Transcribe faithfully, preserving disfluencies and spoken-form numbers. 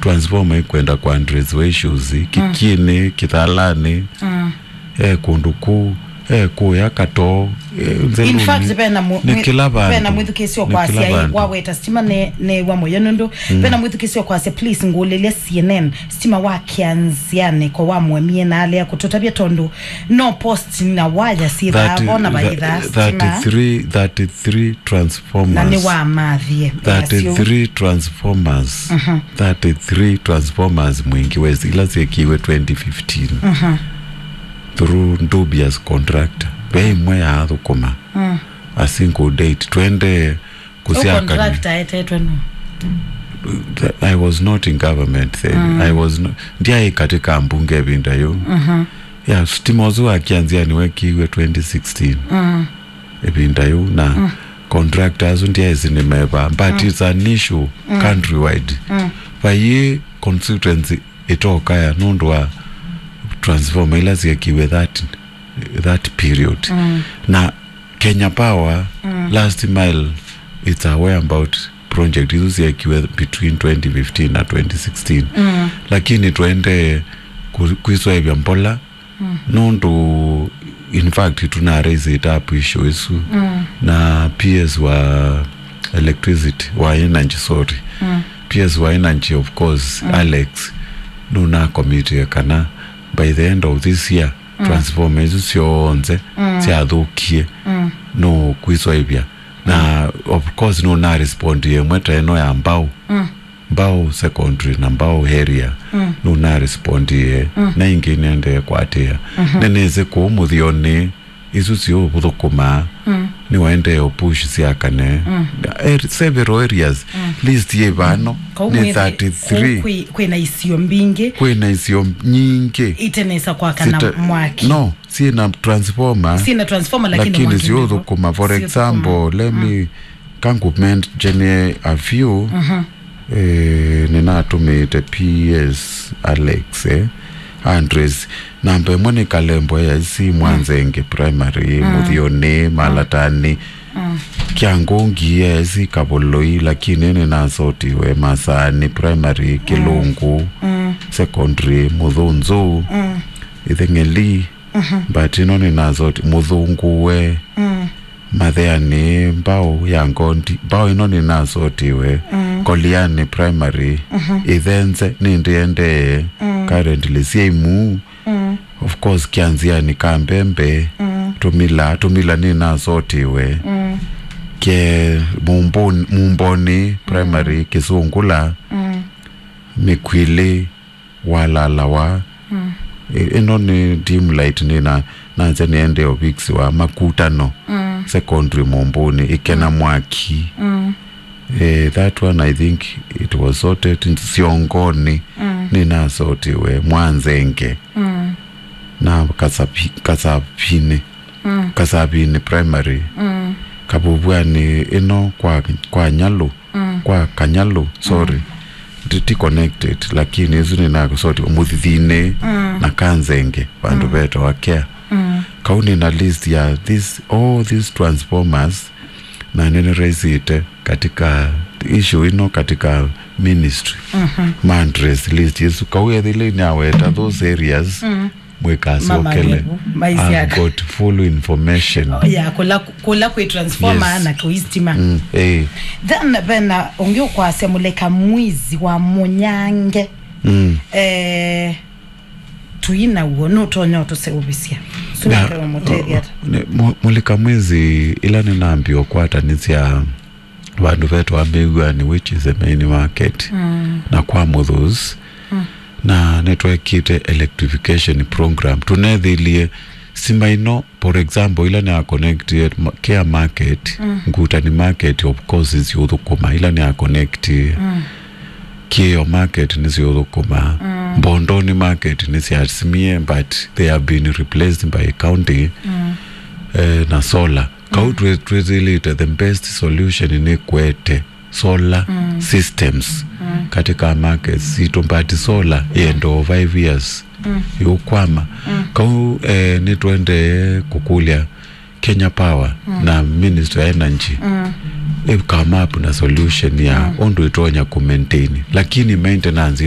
transformer ikwenda kwa address wa issues, Kikinĩ, Kithalani, eh, kũndũ kũu, eh, kũya Katoo, eh, Nzelũnĩ, In fact, vena mwi-, nĩ mwi-, kĩla vandũ. Vena mwĩthukĩĩsyo Nĩ kĩla kwasya, ĩ, vandũ. Waweta stima ne-, neew'a mũyo nũndũ, vena mwĩthukĩĩsyo kwasya, "Please, ngũlĩlya C N N, stima wa Kĩanzianĩ ko wamũemie na alea kũtũtavya tondũ no post na waya syĩthaa vo na vaithaa stima." Thirty-three, thirty-three transformers. Na nĩwamathie. Thirty-three transformers. Thirty-three transformers Mwingi West, ila syekiwe twenty fifteen. Through dubious contractor. Ve imwe yaathũkũma. A single date. Twende Ũu kũsyakany'a. Contractor etetwe nũ? I was not in government then. I was no, ndiaĩ katika mbunge ĩvinda yĩu. Ya, stima ũsu wa Kĩanzianĩ wekiwe twenty sixteen. Ĩvinda yĩu na contractor asu ndiaĩsĩ nĩ meva, but it's an issue countrywide. Vaiĩ constituency ĩtokaya nũndũ wa transformer ila syekiwe that, that period. Na Kenya Power, last mile, it's aware about project isu syekiwe between twenty fifteen na twenty sixteen. Lakini twende ku-, kwiswaĩvya mbola, nũndũ, in fact, tuna raise it up issue isu na P S wa electricity, wa energy, sorry. P S wa energy, of course, Alex, nũnakomitie kana by the end of this year, transformer isu syonthe syathũkie, no kwiswaĩvya. Na, of course, nũnarespondie ĩmwe ta ĩno ya Mbao. Mbao Secondary na Mbao area, nũnarespondie, na ingĩ nĩendee kwatĩĩa. Nĩnĩsĩ kũu mũthionĩ, isu siũthũkũmaa, nĩwaendee ũpush syakane. Ar-, several areas, list yĩ vano, nĩ thirty-three. Kwĩ, kwĩna isio mbingĩ. Kwĩna isio nyingĩ. Itenesa kwakana mwaki. No, syĩna transformer. Syĩna transformer, lakini lakini mwaki nĩvo. Siũthũkũma. For example, let me, kangu mention a few. Eh, nĩnatũmĩĩte P S Alex, eh, Andres. Namba ĩmwe nĩ Kalembo A I C, Mwanzenge Primary, Mũthionĩ, Malatani. Kyangungi A I C, Kavoloi, lakini nĩnasotiwe Masaani Primary, Kĩlũngũ Secondary, Mũthũnzũ, Itheng'eli, but ĩno nĩnasoti, Mũthũngũwe, Matheanĩ, Mbao ya Ngondi, Mbao ĩno nĩnasotiwe, Koliani Primary, Ithenze nĩndĩendee, currently syĩ imuu, of course, Kĩanzianĩ, Kambembe, Tũmila, Tũmila nĩnasotiwe, ke Mumboni, Mumboni Primary, Kĩsũngũla, Mĩkwilĩ, Walalawa. Ĩ-, ĩno nĩ dim light nĩ na, na nze nĩende ũvikisiwa Makutano Secondary Mũmbũnĩ, Ĩkena Mwaki. Eh, that one, I think it was sorted. Siongoni nĩnasotiwe, Mwanzenge na Kasapi-, Kasapini, Kasapini Primary. Kavuvw'anĩ ĩno kwa, kwa Nyalũ, kwa Kanyalũ, sorry. Ti, ti connected, lakini ĩsu nĩnasotiwe Mũthithinĩ na Kanzenge, vandũ vetawa Kea. Kau nĩna list ya this, all these transformers, na nĩnĩraisĩte katika issue ĩno katika ministry. Ma address list ĩsu. Kau ethĩle nĩaweta those areas, mwĩkasokele. I've got full information. Oh, yeah, kula, kula kwĩ transformer na kwĩ stima. Eh. Then vena ũngĩ ũkwasya Mũleka Mwizi wa Mũnyange. Eh, tuina uo, nũtonya ũtũseũvisya? Sũnĩkawe mũtethya ata? Nĩ, Mu-, Mũleka Mwizi, ila nĩnambia ũkwatanĩsya vandũ vetawa Mĩw'anĩ, which is the main market, na kwa Mũthũs, na nĩtwekĩte electrification program. Tũnethĩlie stima ĩno, for example, ila nĩ a connected ma-, Care Market, Ngutani Market, of course, nĩsiũthũkũma, ila nĩ a connected. Kĩo Market nĩsiũthũkũma. Mbondoni Market nĩsyasimie, but they have been replaced by county, eh, na solar. Kau twĩ-, twĩthĩlĩte the best solution nĩ kwete solar systems katika markets sitũ, but solar yenda o five years yũkwama. Kau, eh, nĩtwendee kũkũlya Kenya Power na Ministry ya Energy ĩ come up na solution ya ũndũ ĩtonya kũ maintain, lakini maintenance